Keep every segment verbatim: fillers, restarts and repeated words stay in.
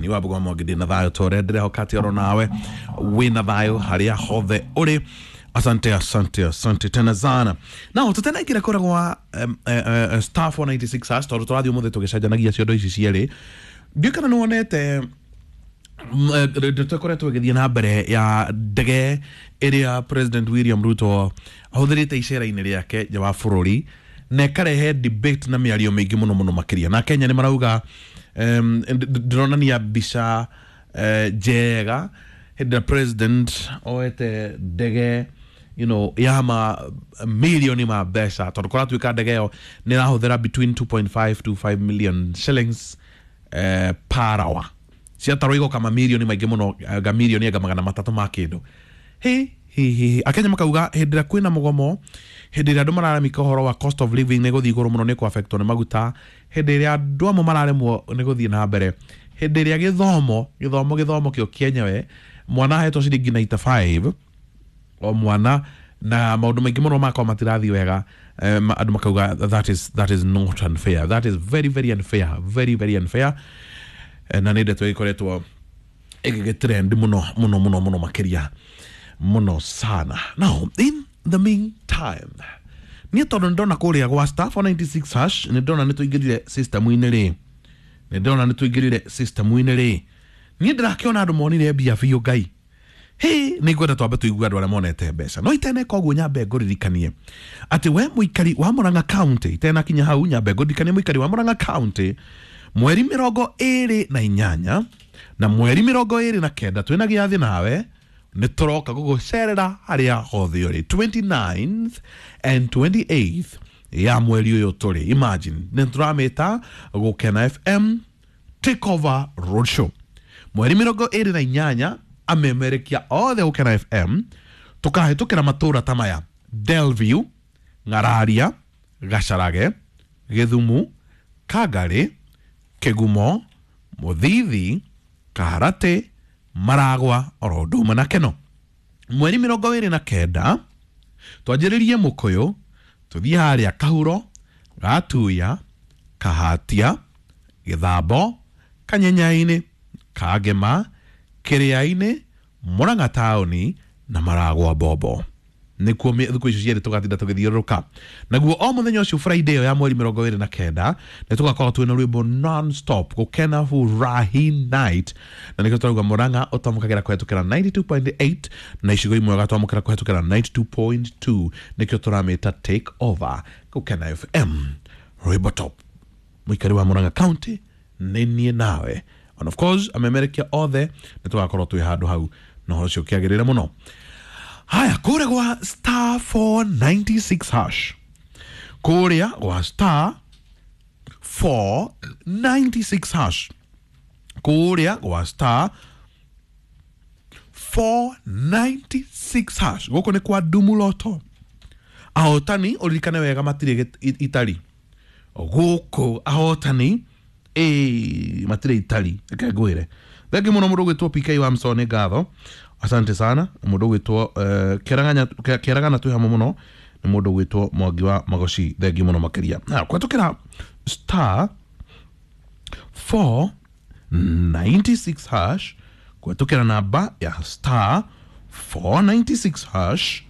Ni Wambugu Mwangi ndĩ na thayũ ta ũrĩa ndĩrehoka atĩ oro nawe wĩna thayũ harĩa hothe ũrĩ. Asante, asante, asante tena sana. Now tũtenaingĩra kũrĩa gwa um, uh, uh, star four ninety-six hash tondũ tũrathiĩ ũmũthĩ tũgĩcenjanagia ciondo ici cierĩ. Ndiũĩ kana nĩwonete ndeto ĩkoretwo ĩgĩthiĩ na mbere ya ndege ĩrĩa President William Ruto ahũthĩrĩte icera-inĩ rĩake nja wa bũrũri na ĩkarehe debate na mĩario mĩingĩ mũno mũno makĩria. Na Kenya nĩ marauga um, ndĩronania mbica uh, njega hĩndĩ ĩrĩa president oete ndege you know, ya ma milioni ma mbeca tondũ kũratuĩka ndege ĩyo nĩ ĩrahũthĩra between two point five to five million shillings eh, per hour. Ciatarwo igoka mamirioni maingĩ mũno, nga mirioni anga magana matatũ ma kĩndũ. Hi hi hi Akenya makauga hĩndĩ ĩrĩa kwĩna mũgomo, hĩndĩ ĩrĩa andũ mararamika ũhoro wa cost of living nĩ gũthiĩ igũrũ mũno, nĩ kũ-affectwo nĩ maguta, hĩndĩ ĩrĩa andũ amwe mararemwo nĩ gũthiĩ na mbere, hĩndĩ ĩrĩa gĩthomo gĩthomo gĩthomo kĩo kĩenyewe mwana ahetwo ciringi ninety-five o mwana na maũndũ maingĩ mũno makwa matirathiĩ wega, um, andũ makauga that is, that is not unfair, that is very very unfair, very very unfair. Na nĩ ndeto ĩkoretwo ĩgĩgĩtrend mũno mũno mũno mũno makĩria mũno sana. Now in the meantime, niĩ tondũ nĩndona kũrĩa gwa star four ninety-six hash nĩndona nĩtũingĩrire system-inĩ rĩ, nĩndona nĩtũingĩrire system-inĩ rĩ, niĩ ndĩrakĩona andũ monire mbia biũ Ngai. Hĩ, nĩ ngwenda twambe tũigue andũ arĩa monete mbeca. No iteneka ũguo nyambe ngũririkanie atĩ we mũikari wa Murang'a County, itenakinya hau nyambe ngũririkanie mũikari wa Murang'a County mweri mĩrongo ĩrĩ na inyanya na mweri mĩrongo ĩrĩ na kenda twĩna gĩathĩ nawe nĩ tũroka gũgũcerera harĩa hothe ũrĩ twenty-ninth and twenty-eighth ya mweri ũyũ tũrĩ. Imagine nĩ tũramĩta Gũkena F M Takeover Roadshow mweri mĩrongo ĩrĩ na inyanya amemerekia othe Gũkena F M tũkahĩtũkĩra matũra ta maya: Delview, Ng'araria, Gacarage, Gĩthumu, Kangarĩ, Kĩgumo, Mũthithi, Kaharatĩ, Maragwa oro ũndũ ũmwe na Keno. Mweri mĩrongo ĩrĩ na kenda twanjĩrĩrie Mũkũyũ, tũthiĩ harĩa Kahuro, Gatuya, Kahatia, Gĩthambo, Kanyenyainĩ, Kangema, Kĩrĩainĩ, Murang'a taũni na Maragwa Bombo. Nĩkuo thikũ icio cierĩ tũgatinda tũgĩthiũrũrũka. Naguo o mũthenya ũcio Friday ĩyo ya mweri mĩrongo ĩrĩ na kenda nĩ tũgakorwo twĩna rwĩmbo non-stop Gũkena Furahi Night, na nĩkĩo tũrauga Murang'a ũtamũkagĩra kũhetũkĩra ninety-two point eight na icigo imwe ũgatwamũkĩra kũhetũkĩra ninety-two point two, nĩkĩo tũramĩta Take Over Gũkena F M rwĩmbo top. Mũikari wa Murang'a County nĩ niĩ nawe, and of course amemerekia othe nĩ tũgakorwo twĩ handũ hau na ũhoro ũcio ũkĩagĩrĩre mũno. Haya, kũrĩa gwa star four ninety-six hash, kũrĩa gwa star four ninety-six hash, kũrĩa gwa star four ninety-six hash, gũkũ nĩ kwa Ndumuloto. Ahotani ũririkane wega matirĩ itari gũkũ, ahotani ĩĩ matirĩ itari. Reke ngwĩre thengi mũno mũndũ ũgwĩtwo P K wa Msoni, ngatho, asante sana. Mũndũ ũgwĩtwo Kĩaragana twĩ hamwe mũno nĩ mũndũ ũgwĩtwo Mwangi wa Magoci, thengi mũno makĩria. Na kũhetũkĩra star four ninety-six hash, kũhetũkĩra namba ya star four ninety-six hash,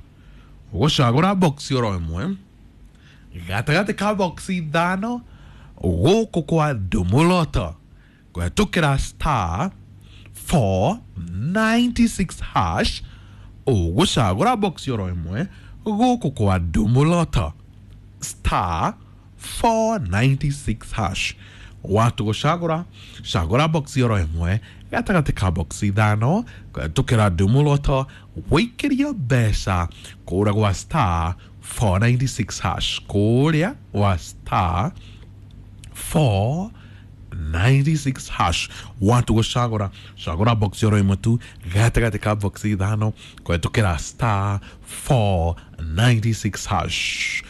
ũgũcagũra box oro ĩmwe gatagatĩ ka box ithano gũkũ kwa Ndumuloto, kũhetũkĩra star four ninety-six hash, ũgũcagũra box oro ĩmwe gũkũ kwa Ndumuloto, star four ninety-six hash. Watu gũcagũra cagũra box oro ĩmwe gatagatĩ ka box ithano kũhetũkĩra Ndumuloto, wĩikĩrie mbeca kũrĩa gwa star four ninety-six hash, kũrĩa gwa star four ninety-six hash. Watu gũcagũra cagũra box oro ĩmwe tu gatagatĩ ka box ithano kũhetũkĩra star four ninety-six hash,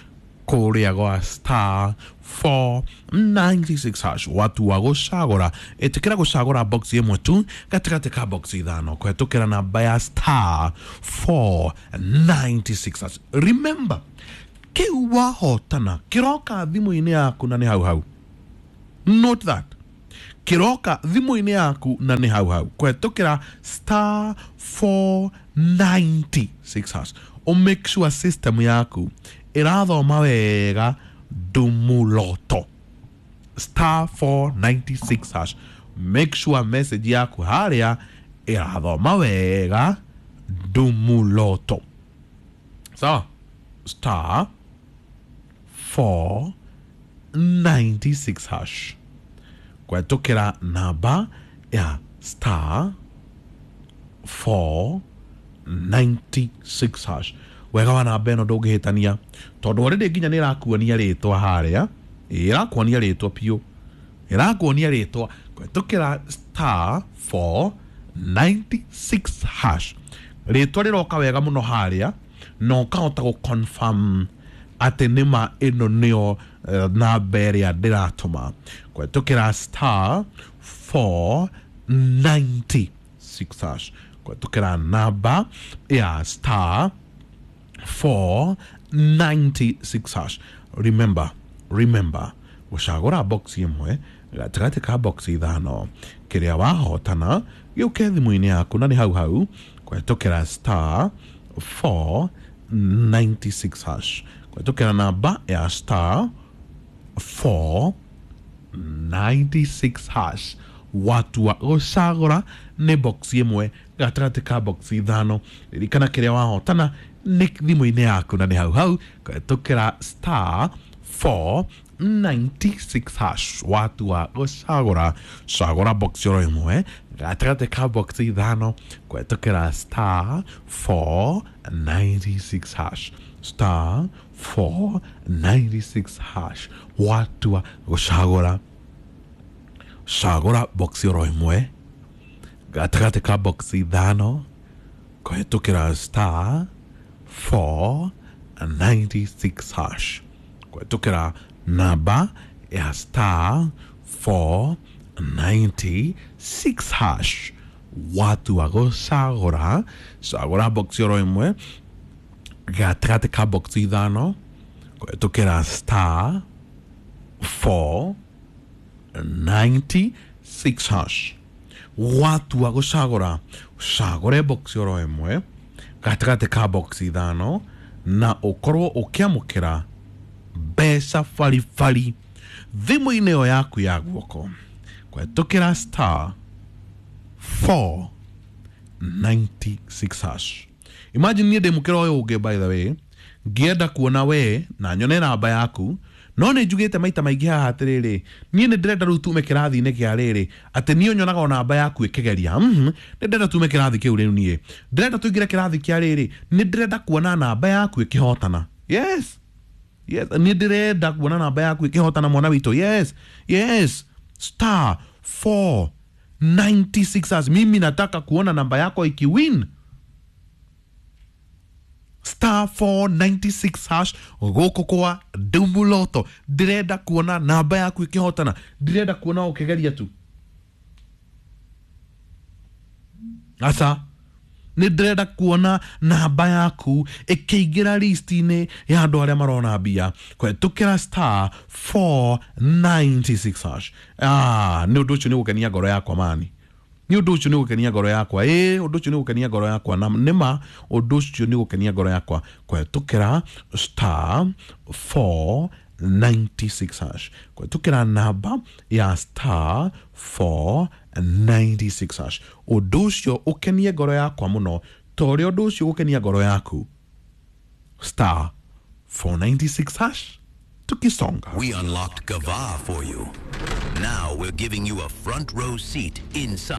kũrĩa gwa star four ninety-six hash. Watu wa gũcagũra ĩtĩkĩra gũcagũra box ĩmwe tu gatagatĩ ka box ithano kũhetũkĩra namba ya star four ninety-six hash. Remember, kĩu wahotana kĩroka thimũ-inĩ yaku na nĩ hau hau. Note that Kĩroka thimũ-inĩ yaku na nĩ hau hau kũhetũkĩra star four ninety-six hash. O make sure system yaku ĩrathoma wega Dumuloto. Star four ninety-six hash. Make sure message yaku harĩa ĩrathoma wega Dumuloto. Sawa? Star four ninety-six hash. Kũhetũkĩra namba ya star four ninety-six hash. Wega wa namba ĩno ndũngĩhĩtania tondũ already nginya nĩ ĩrakuonia rĩtwa harĩa, ĩrakuonia rĩtwa piũ, ĩrakuonia rĩtwa kũhetũkĩra star four ninety-six hash. Rĩtwa rĩroka wega mũno harĩa na ũkahota gũ confirm atĩ nĩma ĩno nĩyo namba ĩrĩa ndĩratũma kũhetũkĩra star four ninety-six hash. Kũhetũkĩra namba ya star four ninety-six hash. Remember, remember gũcagũra box ĩmwe gatagatĩ ka box ithano kĩrĩa wahotana gĩũke thimũ-inĩ yaku na nĩ hau hau kũhetũkĩra star four ninety-six hash. Kũhetũkĩra namba ya star four ninety-six hash. Watua gũcagũra nĩ box ĩmwe gatagatĩ ka box ithano ririkana kĩrĩa wahotana nĩ thimũ-inĩ yaku na nĩ hau hau kũhetũkĩra star four ninety-six hash. Watua gũcagũra cagũra box oro ĩmwe gatagatĩ ka box ithano kũhetũkĩra star four ninety-six hash. Star four ninety-six hash. Watua gũcagũra cagũra box oro ĩmwe gatagatĩ ka box ithano kũhetũkĩra star four ninety-six hash. Kũhetũkĩra namba ya star four ninety-six hash. Watua gũcagũra cagũra box oro ĩmwe gatagatĩ ka box ithano kũhetũkĩra star four ninety-six hash. Watua gũcagũra cagũre box oro ĩmwe gatagatĩ ka box ithano na ũkorwo ũkĩamũkĩra mbeca baribari thimũ-inĩ ĩyo yaku ya guoko kũhetũkĩra star four ninety-six hash. Imagine niĩ ndĩ mũkĩra ũyũ ũngĩ, by the way, ngĩenda kuona we na nyone namba yaku no nĩ njugĩte maita maingĩ haha atĩrĩrĩ niĩ nĩ ndĩrenda rĩu tume kĩrathi-inĩ kĩa rĩrĩ atĩ niĩ nyonaga o namba yaku ĩkĩgeria. Mhm, nĩ ndĩrenda tume kĩrathi kĩu rĩu niĩ ndĩrenda tũingĩre kĩrathi kĩa rĩrĩ nĩ ndĩrenda kuona namba yaku ĩkĩhotana. Yes, yes, nĩ ndĩrenda kuona namba yaku ĩkĩhotana mwana witũ. Yes, yes, star four ninety-six hash. Mimi nataka kuona namba yako ikiwin. Star four ninety-six hash gũkũ kwa Dumuloto. Ndĩrenda kuona namba yaku ĩkĩhotana, ndĩrenda kuona ũkĩgeria tu. Aca nĩ ndĩrenda kuona namba yaku ĩkĩingĩra list-inĩ ya andũ arĩa marona mbia kũhetũkĩra star four ninety-six hash. Ah, nĩ ũndũ ũcio nĩ gũkenia ngoro yakwa mani, nĩ ũndũ ũcio nĩ gũkenia ngoro yakwa. Ĩ, ũndũ ũcio nĩ gũkenia ngoro yakwa na nĩma ũndũ ũcio nĩ gũkenia ngoro yakwa kũhetũkĩra star four ninety-six hash kũhetũkĩra namba ya star four ninety-six hash. Ũndũ ũcio ũkenie ngoro yakwa mũno ta ũrĩa ũndũ ũcio ũgũkenia ngoro yaku. Star four ninety-six hash. Tukisonga. We unlocked Gava for you. Now we're giving you a front row seat inside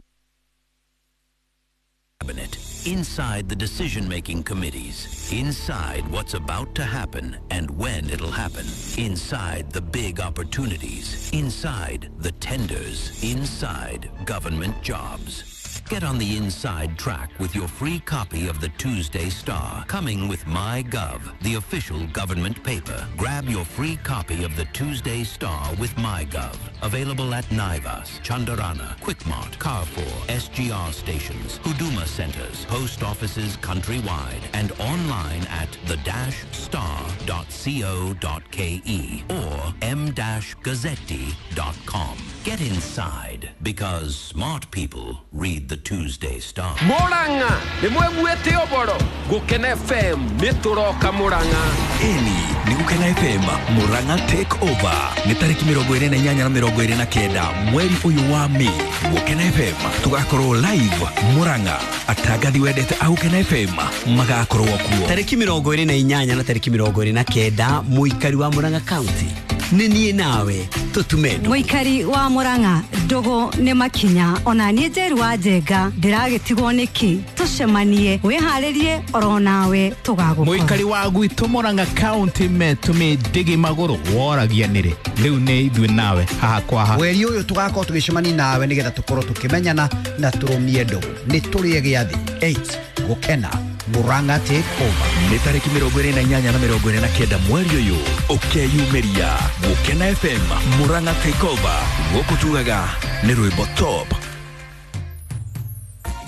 cabinet, inside the decision-making committees, inside what's about to happen and when it'll happen, inside the big opportunities, inside the tenders, inside government jobs. Get on the inside track with your free copy of the Tuesday Star, coming with MyGov, the official government paper. Grab your free copy of the Tuesday Star with MyGov. Available at Naivas, Chandarana, Quickmart, Carrefour, S G R stations, Huduma centers, post offices countrywide, and online at the dash star dot co dot ke or m dash gazzetti dot com. Get inside, because smart people read the Tuesday Star. Murang'a nĩ mweguĩte ũboro Gũkena F M nĩ tũroka Murang'a. Ĩni nĩ Gũkena F M Murang'a Take Over nĩ tarĩki mĩrongo ĩrĩ na inyanya na mĩrongo ĩrĩ na kenda mweri ũyũ wa Mĩĩ. Gũkena F M tũgakorwo live Murang'a, atangathi wendete a Gũkena F M magakorwo kuo tarĩki mĩrongo ĩrĩ na inyanya na tarĩki mĩrongo ĩrĩ na kenda. Mũikari wa Murang'a County nĩ niĩ nawe tũtume ndũgũ. Mũikari wa Murang'a ndũgũ nĩ makinya ona niĩ Njeru wa Njenga ndĩragĩtigwo nĩkĩ tũcemanie wĩharĩrie oro nawe tũgagũkora. Mũikari wa gwitũ Murang'a County metũmĩ ndĩgĩ magũrũ woragia nĩrĩ rĩu nĩ ithuĩ nawe haha kwa haha. Mweri ũyũ tũgakorwo tũgĩcemania nawe nĩgetha tũkorwo tũkĩmenyana na tũrũmie ndũgũ. Nĩ tũrĩe gĩathĩ eight Gũkena Murang'a Take Over nĩ tarĩki mĩrongo ĩrĩ na inyanya na mĩrongo ĩrĩ na kenda mweri ũyũ ũkeyumĩria Gũkena F M Murang'a Take Over gũkũ tugaga nĩ rwĩmbo top.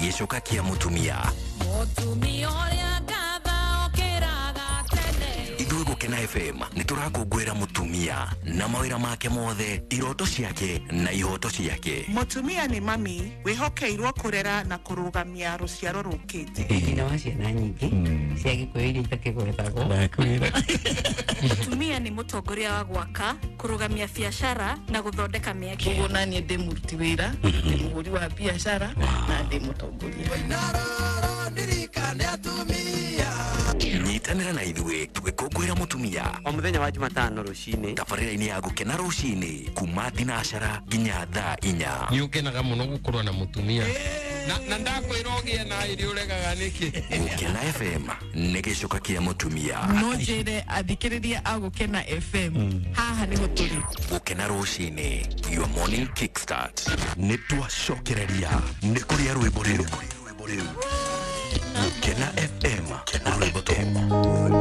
Gĩcoka kĩa mũtumia Mũtumia ũrĩa ngatha okĩraga tene. Ithuĩ Gũkena F M nĩ tũrakũngũĩra mũtumia na mawĩra make mothe, iroto ciake na ihoto ciake. Mũtumia nĩ mami wĩhokeirwo kũrera na kũrũgamia rũciaro rũkĩte. Nyina wa ciana nyingĩ cia Gĩkũyũ iria itakĩgwetagwo. Mũtumia nĩ mũtongoria wa gwaka, kũrũgamia biacara na gũthondeka mĩeke. Ũguo na niĩ ndĩ mũruti wĩra, ndĩ mũhũri wa biacara na ndĩ mũtongoria. Nyitanĩra na ithuĩ tũgĩkũngũĩra mũtumia o mũthenya wa Jumatano rũcinĩ tabarĩra-inĩ ya Gũkena rũcinĩ kuma thinacara nginya thaa inya. Nĩ ũkenaga mũno gũkorwo na mũtumia na na ndakwĩra ũgĩe na ĩrĩ ũregaga nĩkĩ. Gũkena F M nĩ gĩcoka kĩa mũtumia. No njĩre athikĩrĩria a Gũkena F M haha nĩho tũrĩ. Gũkena rũcinĩ, your morning kickstart. Nĩ twacokereria nĩ kũrĩa rwĩmbo rĩu.